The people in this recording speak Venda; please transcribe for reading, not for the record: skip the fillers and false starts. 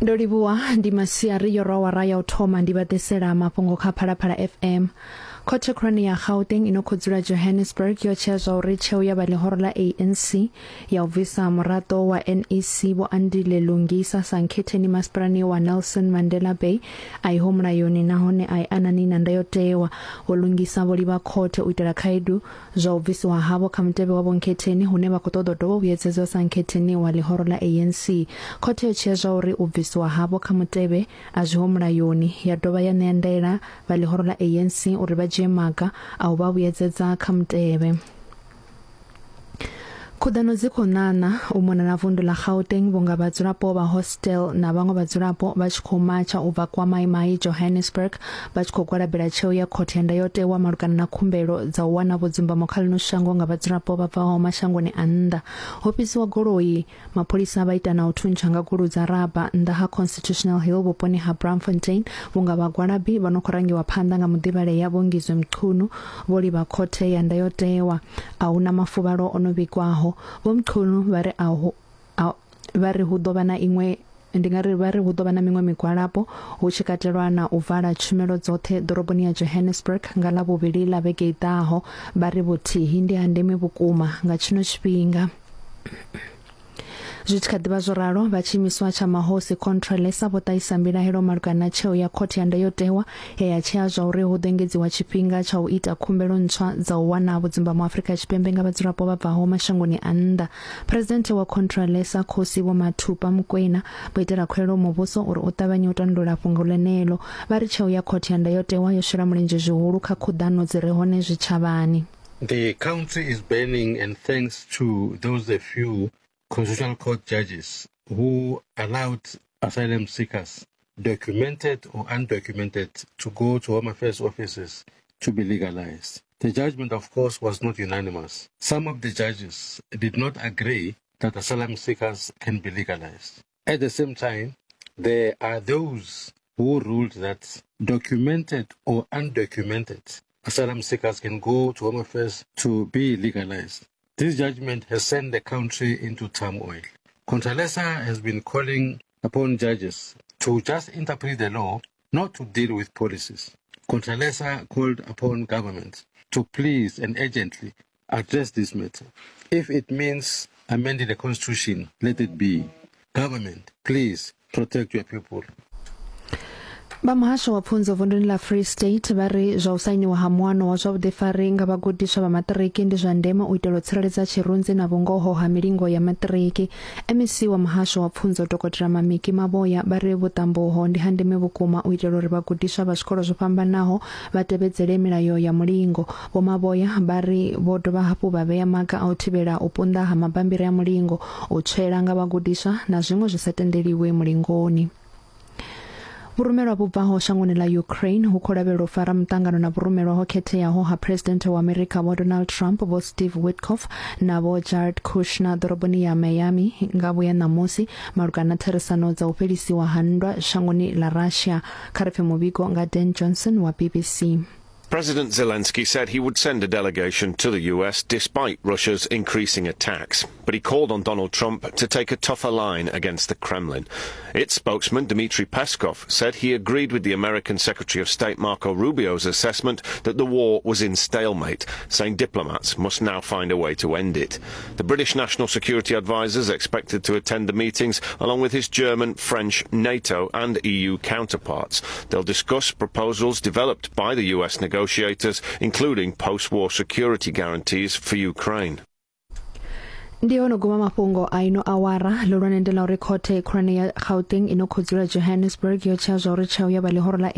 Ndo livhuwa ndi masiari yo rwa awara ya u thoma ndi vha ḓisela mafhungo kha Phalaphala FM. Khothe khulwane ya Gauteng ino khou dzula Johannesburg yo tshea zwa uri tsheo ya vha ḽihoro ḽa ANC ya u bvisa muraḓo wa NEC Vho Andile Lungisa sa nkhetheni masipalani wa Nelson Mandela Bay a iho mulayoni nahone a i anani na ndayotewa. Vho Lungisa vho livha khothe u itela khaedu Zwa u bvisiwa havho kha mutevhe wa vhonkhetheni hune vha khou ṱoḓa u dovha u vhuyedzedzwa sa nkhetheni wa ḽihoro ḽa ANC. Khothe yo tshea zwauri u bvisiwa havho kha mutevhe a zwiho mulayoni, ya dovha ya ṋea ndaela vha ḽihoro ḽa ANC uri vha dzhie maga a u vha vhuyedzedza kha mutevhe. Khuḓano dzi khou ṋaṋa u mona na vundu ḽa Gauteng vhunga vhadzulapo vha hostel na vhaṅwe vhadzulapo vha tshi khou matsha u bva kwa Mai Mai Johannesburg vha tshi khou gwalabela tsheo ya khothe ya ndayotewa malugana na khumbelo dza u wana vhudzumbamo kha ḽino shango nga vhadzulapo vha bvaho mashangoni a nnḓa. Ho fhisiwa goloi, mapholisa vha ita na u thuntsha nga gulu dza raba nnḓa ha Constitutional Hill vhuponi ha Braamfontein vhunga vhagwalabi vha no khou rangiwa phanḓa nga muḓivhalea Vho Ngizwe Mchunu vho livha khothe ya ndayotewa. A hu na mafuvhalo o no vhigwaho. Vho Mchunu vha ri a hu a vha ri hu ḓo vha na iṅwe ndi nga ri vha ri hu ḓo vha na miṅwe migwalabo hu tshi katelwa na u vala tshumelo dzoṱhe ḓoroboni ya Johannesburg nga Ḽavhuvhili ḽa vhege i ḓaho. Vha ri vhuthihi ndi ha ndeme vhukuma nga tshino tshifhinga. Zwi tshi kha ḓi vha zwo ralo, vha tshiimiswa tsha mahosi Contralesa vho ṱahisa mbilahelo malugana na tsheo ya khothe ya ndayotewa ye ya tshea zwa uri hu ḓo engedziwa tshifhinga tsha u ita khumbelo ntswa dza u wana vhudzumbamo Afrika Tshipembe nga vhadzulapo vha bvaho mashangoni a nnḓa. Phresidennde wa Contralesa Khosi Vho Mathupa Mokoena vho itela khuwelelo muvhuso uri u ṱavhanye u tandulula fhungo ḽeneḽo. Vha ri tsheo ya khothe ya ndayotewa yo shela mulenzhe zwihulu kha khuḓano dzi re hone zwitshavhani. The country is burning and thanks to those a few constitutional court judges who allowed asylum seekers, documented or undocumented, to go to Home Affairs offices to be legalized. The judgment, of course, was not unanimous. Some of the judges did not agree that asylum seekers can be legalized. At the same time, there are those who ruled that documented or undocumented asylum seekers can go to Home Affairs to be legalized. This judgment has sent the country into turmoil. Contralesa has been calling upon judges to just interpret the law, not to deal with policies. Contralesa called upon government to please and urgently address this matter. If it means amending the constitution, let it be. Government, please protect your people. Vha muhasho wa pfunzo vunduni ḽa Free State vha ri zwa u sainiwa ha muano wa zwa vhuḓifari nga vhagudiswa vha maṱiriki ndi zwa ndeme u itela u tsireledza tshirunzi na vhungoho ha milingo ya maṱiriki. MEC wa muhasho wa pfunzo Dokotela Mamiki Maboya vha ri vhuṱambo uho ndi ha ndeme vhukuma u itela uri vhagudiswa vha zwikolo zwo fhambanaho vha tevhedzele milayo ya mulingo. Vho Maboya vha ri vho dovha hafhu vha vhea maga a u thivhela u punḓa ha mabambiri a mulingo, u tswela nga vhagudiswa na zwiṅwe zwi sa tendeliwi mulingoni. Vhurumelwa vhu bvaho shangoni ḽa Ukraine hu khou lavhelelwa u fara muṱangano na vhurumelwa ho khetheaho ha Phresidennde wa Amerika Vho Donald Trump, Vho Steve Witkoff na Vho Jared Kushner ḓoroboni ya Miami nga vhuya ṋamusi malugana na therisano dza u fhelisiwa ha nndwa shangoni ḽa Russia. Kha ri pfe muvhigo nga Dan Johnson wa BBC. President Zelensky said he would send a delegation to the US despite Russia's increasing attacks, but he called on Donald Trump to take a tougher line against the Kremlin. Its spokesman, Dmitry Peskov, said he agreed with the American Secretary of State Marco Rubio's assessment that the war was in stalemate, saying diplomats must now find a way to end it. The British National Security Advisor is expected to attend the meetings along with his German, French, NATO and EU counterparts. They'll discuss proposals developed by the US negotiators, including post-war security guarantees for Ukraine. Ndi ho no guma mafhungo a ino awara ḽihulwane ndi ḽa uri khothe khulwane ya Gauteng ino khou dzula Johannesburg yo tshea zwa uri tsheo ya vha ḽihoro ḽa